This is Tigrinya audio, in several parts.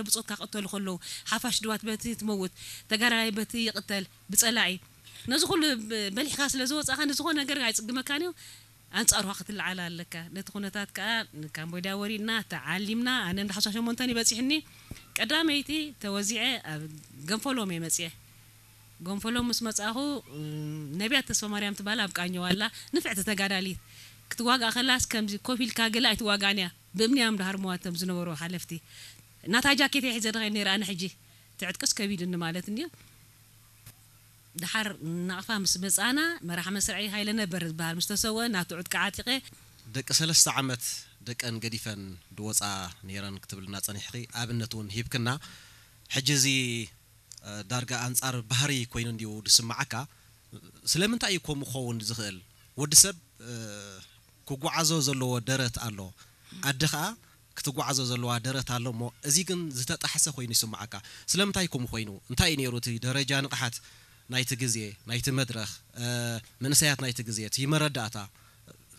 ብጾትካ ክቕተሉ ከለዉ፣ ሓፋሽ ድዋት በቲ ትመውት፣ ተጋዳላይ በቲ ይቕተል ብጸላኢ። ነዚ ኩሉ ብ- በሊሕካ ስለ ዝወጻኻ ንዝኾነ ነገር ኣይጽግመካን እዩ። ኣንጻሩኻ ክትለዓል ኣለካ። ነቲ ኩነታት ከኣ ንካምቦድያ ወሪድና ተዓሊምና። ኣነ እንዳ ሓምሳ ሸሞንተ እዩ በጺሕኒ። ቀዳመይቲ ተወዚዐ ኣብ ገንፎሎም እየ መጺኤ። ጎንፈሎም ምስ መጻኹ ነቢያት ተስፋ ማርያም ትባል ኣብ ቃኘው ኣላ፣ ንፍዕቲ ተጋዳሊት። ክትዋጋእ ከላስ ከምዚ ኮፍ ኢልካ ገለ ኣይትዋጋእን እያ። ብእምኒ እዮም ድሃርምዋ እቶም ዝነበሩ ሓለፍቲ። ናታ ጃኬት እየ ሒዘ ድኸይድ ነይረ ኣነ ሕጂ። ትዕጥቅስ ከቢድኒ ማለት እንድዩ። ድሓር ናቕፋ ምስ መጻና መራሕ መስርዒ ሃይለ ነበር ዝበሃል ምስ ተሰወ ናቱ ዕጥቂ ዓጢቐ። ደቂ ሰለስተ ዓመት ደቀን ገዲፈን ድወፃ ነይረን ክትብልና ፀኒሕኺ ኣብነት እውን ሂብክና። ሕጂ እዚ ዳርጋ ኣንጻር ባህሪ ኮይኑ እንድዩ ዝስምዓካ። ስለምንታይ እዩ ከምኡ ክኸውን ዝኽእል? ወዲ ሰብ ክጓዓዞ ዘለዎ ደረት ኣሎ፣ ኣደ ኸኣ ክትጓዓዞ ዘለዋ ደረት ኣሎ እሞ፣ እዚ ግን ዝተጣሕሰ ኮይኑ ይስምዓካ። ስለምንታይ ከምኡ ኮይኑ? እንታይ እዩ ነይሩ እቲ ደረጃ ንቕሓት ናይቲ ግዜ፣ ናይቲ መድረኽ፣ መንእሰያት ናይቲ ግዜ፣ እቲ መረዳእታ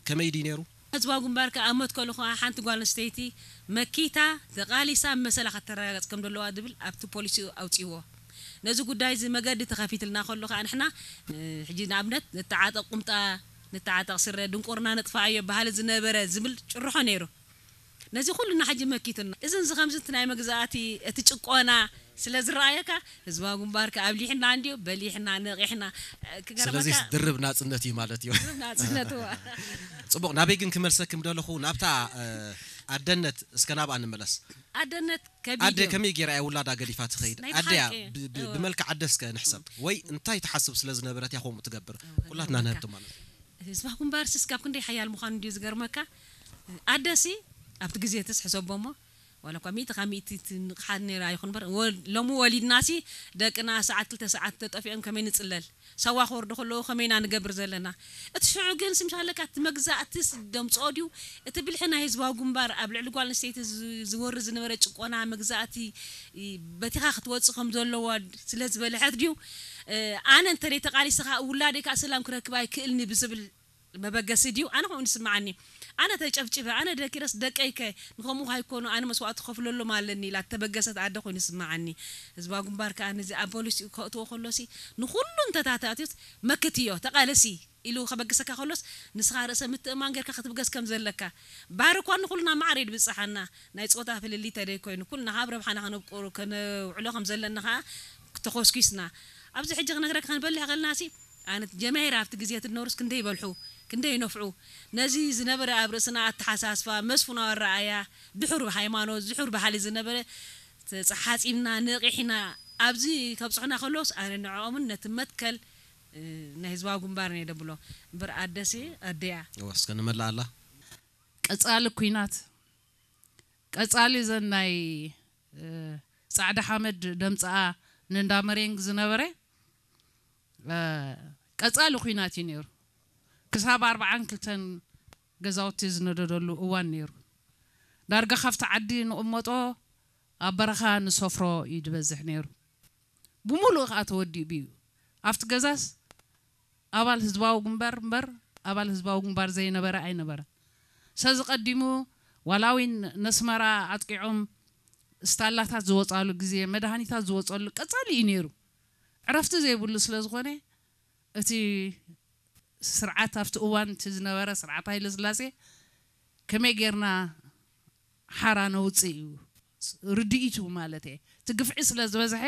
ከመይ ድዩ ነይሩ? ህዝባዊ ግንባር ከኣ ኣብ መትከሉ ከኣ ሓንቲ ጓል ኣንስተይቲ መኪታ ተቓሊሳ መሰላ ከተረጋግጽ ከም ዘለዋ ዝብል ኣብቲ ፖሊሲኡ ኣውጺእዎ። ነዚ ጉዳይ እዚ መገዲ ተኸፊትልና ከሎ ከኣ ንሕና ሕጂ ንኣብነት ንተዓጠቕ ቁምጣ ንተዓጠቕ ስረ ድንቁርና ነጥፍኣዮ ባህሊ ዝነበረ ዝብል ጭርሖ ነይሩ። ነዚ ኩልና ሕጂ መኪቱና። እዚ እዚ ከምዚ እቲ ናይ መግዛእቲ እቲ ጭቆና ስለ ዝረኣየካ ህዝባዊ ግንባር ከኣ ኣብሊሕና እንድዩ በሊሕና ነቒሕና። ስለዚ ክገርመካ ድርብ ናጽነት እዩ ማለት እዩ። ድርብ ናጽነት እዋ። ጽቡቕ፣ ናበይ ግን ክመልሰኪ ምደለኹ ናብታ ኣደነት እስከ ናብኣ ንመለስ። ኣደነት ከቢድ ኣደ እዩ። ከመይ ገይራ እያ ውላዳ ገዲፋ ትኸይድ? ናይ ኣደያ ብሓቂ፣ ብ- ብ- እወ። ብመልክዕ ኣደ እስከ ንሕሰብ ወይ እንታይ ትሓስብ ስለ ዝነበረት እያ ከምኡ ትገብር? ኩላትና ንህብቲ ማለት እዩ። ህዝባዊ ግንባር ስስ ካብ ክንደይ ሓያል ምዃኑ እንድዩ ዝገርመካ። ኣደሲ ኣብቲ ግዜ ትስ ሕሰቦ እሞ ዋላ እኳ ሚእቲ ካብ ሚእቲ ትንቕሓት ነይራ ይኹን እምበር ወ- ሎሚ ወሊድናሲ ደቅና ሰዓት ክልተ ሰዓት ተጠፊኦም ከመይ ንጽለል? ሳዋ ክወርዱ ከለዉ ከመይ ኢና ንገብር ዘለና? እቲ ሽዑ ግን ስምሻለካ እቲ መግዛእትስ ደምጽኦ ድዩ? እቲ ብልሒ ናይ ህዝባዊ ግንባር ኣብ ልዕሊ ጓል ኣንስተይቲ ዝ- ዝወርድ ዝነበረ ጭቆና መግዛእቲ እ፣ በቲኻ ክትወጽእ ከም ዘለዋ ስለ ዝበልሐት ድዩ? እ፣ ኣነ እንተ ተቓሊሰ ከኣ ውላደይ ከኣ ሰላም ክረክብ ኣይክእልኒ ብዝብል መበገሲ ድዩ? ኣነ ከምኡ ይስምዓኒ። ኣነ ተጨፍጭፈ፣ ኣነ ደኪረስ ደቀይከ ንኸምኡ ኣይኮኑ ኣነ መስዋእቲ ክኸፍለሎም ኣለኒ ኢላ ተበገሰት ኣደ ኮይኑ ይስምዓኒ። ህዝባዊ ግንባር ከኣ ነዚ ኣብ ፖሊሲ ከእትዎ ከሎሲ ንኹሉ እንተታታትዩት መክትዮ ተቓለሲ ኢሉ ከበግሰካ ከሎስ ንስኻ ርእሰ ምትእማን ጌርካ ክትብገስ ከም ዘለካ። ባህሪ እኳ ንኹልና ማዕረ እዩ ድብጽሓና። ናይ ጾታ ፍልልይ ተደይ ኮይኑ ኩልና ካብ ረብሓና ከነብቁሩ ከነውዕሎ ከም ዘለና ከኣ ተኾስኪስና። ኣብዚ ሕጂ ክነግረካ ክንበልሕ ከለናሲ ኣነ ጀማሂር ኣብቲ ግዜ ትነበሩስ ክንደይ ይበልሑ ክንደይ ይነፍዑ። ነዚ ዝነበረ ኣብ ርእስና ኣተሓሳስባ መስፍናዊ ኣረኣያ ድሑር ሃይማኖት ድሑር ባህሊ ዝነበረ ተሓጺብና ነቒሕና ኣብዚ ከብጽሑና ከለውስ ኣነ ንዕኦምን ነቲ መትከል ናይ ህዝባዊ ግንባር እየ ደብሎ እምበር ኣደሲ ኣደያ። እወ እስከ ንመላኣላ። ቀጻሊ ኲናት ቀጻሊ እዘን ናይ እ፣ ጻዕዳ ሓመድ ደምጽኣ ንእንዳ መሬንግ ዝነበረ እ፣ ቀጻሊ ኲናት እዩ ነይሩ። ክሳብ ኣርብዓን ክልተን ገዛውቲ ዝነደደሉ እዋን ነይሩ። ዳርጋ ካብቲ ዓዲ ንቕመጦ ኣብ በረኻ ንሰፍሮ እዩ ዝበዝሕ ነይሩ። ብምሉኡ ከኣ ተወዲኡ ብዩ ኣብቲ ገዛስ ኣባል ህዝባዊ ግንባር እምበር ኣባል ህዝባዊ ግንባር ዘይነበረ ኣይነበረን። ሰዚ ቀዲሙ ዋላ እውን ነስመራ ኣጥቂዖም ስታላታት ዝወፃሉ ግዜ መድሃኒታት ዝወፀሉ ቀፃሊ እዩ ነይሩ። ዕረፍቲ ዘይብሉ ስለ ዝኾነ እቲ ስርዓት ኣብቲ እዋን እቲ ዝነበረ ስርዓት ሃይለ ስላሴ ከመይ ጌርና ሓራ ነውፅእ እዩ ርድኢቱ ማለት እየ። እቲ ግፍዒ ስለ ዝበዝሐ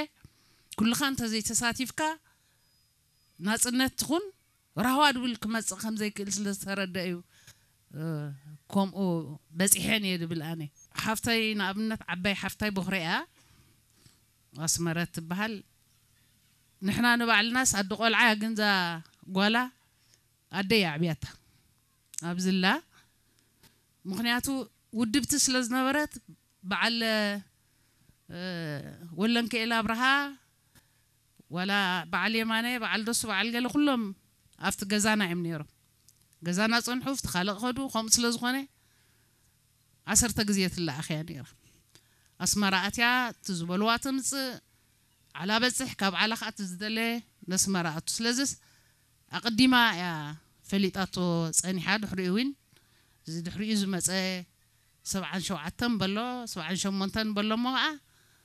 ኩልኻ እንተዘይተሳቲፍካ ናፅነት ትኹን ራህዋ ድብል ክመፅእ ከም ዘይክእል ስለ ዝተረደ እዩ ከምኡ በፂሐን እየ ድብል ኣነ። ሓፍተይ ንኣብነት ዓባይ ሓፍታይ ቦኽረ እያ ኣስመረት ትበሃል። ንሕና ንባዕልናስ ኣደ ቆልዓ እያ ግን እዛ ጓላ ኣደ እያ ኣዕብያታ ኣብዝላ ምክንያቱ ውድብቲ ስለ ዝነበረት በዓል ወለንከኤል ኣብርሃ ዋላ በዓል የማነ በዓል ደሱ በዓል ገለ ኩሎም ኣብቲ ገዛና እዮም ነይሮም። ገዛና ፀንሑ ኣብቲ ካልእ ከዱ ከምኡ ስለ ዝኾነ ዓሰርተ ግዜ ትለኣኽ እያ ነይራ። ኣስመራ ኣትያ እቲ ዝበልዋ ትምፅእ ዓላ በፅሕ ካብ ዓላ ከዓ እቲ ዝደለ ነስመራ ኣቱ ስለዝስ ኣቐዲማ እያ ፈሊጣቶ ፀኒሓ ድሕሪኡ እውን እዚ ድሕሪኡ ዝመፀ ሰብዓን ሸውዓተን በሎ ሰብዓን ሸሞንተን በሎ እሞ ከዓ